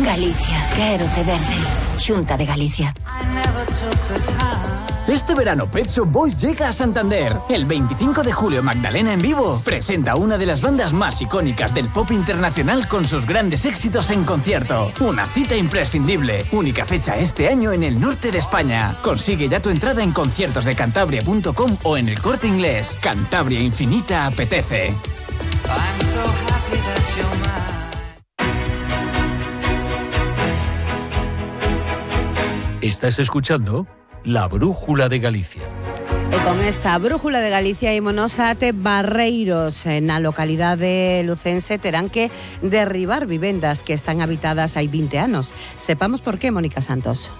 Galicia, quérote verde. Xunta de Galicia. Este verano Pet Shop Boys llega a Santander. El 25 de julio Magdalena en vivo presenta una de las bandas más icónicas del pop internacional con sus grandes éxitos en concierto. Una cita imprescindible. Única fecha este año en el norte de España. Consigue ya tu entrada en conciertosdecantabria.com o en El Corte Inglés. Cantabria Infinita apetece. Estás escuchando La Brújula de Galicia. E con esta Brújula de Galicia ímonos ate Barreiros. Na localidade lucense terán que derribar vivendas que están habitadas hai 20 anos. Sepamos por qué, Mónica Santos.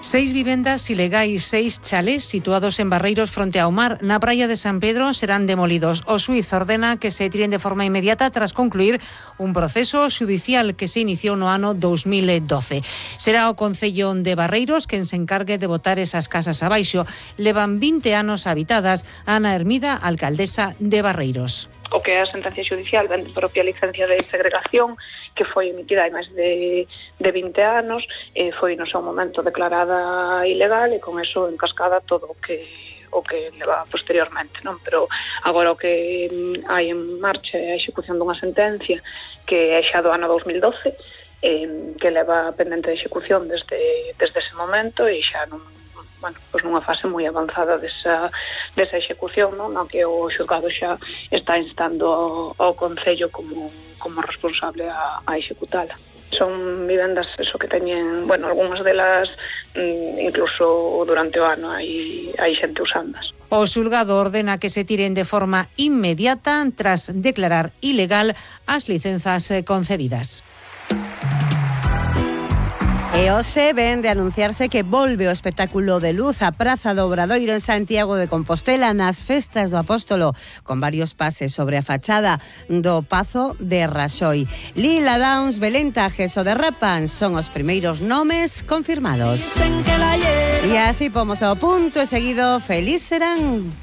6 vivendas ilegais, 6 chalés situados en Barreiros fronte ao mar na praia de San Pedro serán demolidos. O xuíz ordena que se tiren de forma inmediata tras concluir un proceso xudicial que se iniciou no ano 2012. Será o Concello de Barreiros quen se encargue de botar esas casas abaixo. Levan 20 anos habitadas. Ana Hermida, alcaldesa de Barreiros. O que é a sentencia xudicial vende propia licencia de segregación que foi emitida hai máis de 20 anos, foi no seu momento declarada ilegal e con eso encascada todo o que leva posteriormente, non? Pero agora o que hai en marcha é a execución dunha sentencia que é xa do ano 2012, que leva pendente de execución desde ese momento e xa nunha fase moi avanzada desa execución, non? No que o xulgado xa está instando ao Concello como responsable a executala. Son vivendas que teñen, algunhas delas incluso durante o ano hai xente usándolas. O xulgado ordena que se tiren de forma inmediata tras declarar ilegal as licenzas concedidas. E hoxe ven de anunciarse que volve o espectáculo de luz a Praza do Obradoiro en Santiago de Compostela nas festas do Apóstolo, con varios pases sobre a fachada do Pazo de Raxoi. Lila Downs, Belén Tajes ou Derrapan son os primeiros nomes confirmados. E así pomos ao punto e seguido, feliz serán.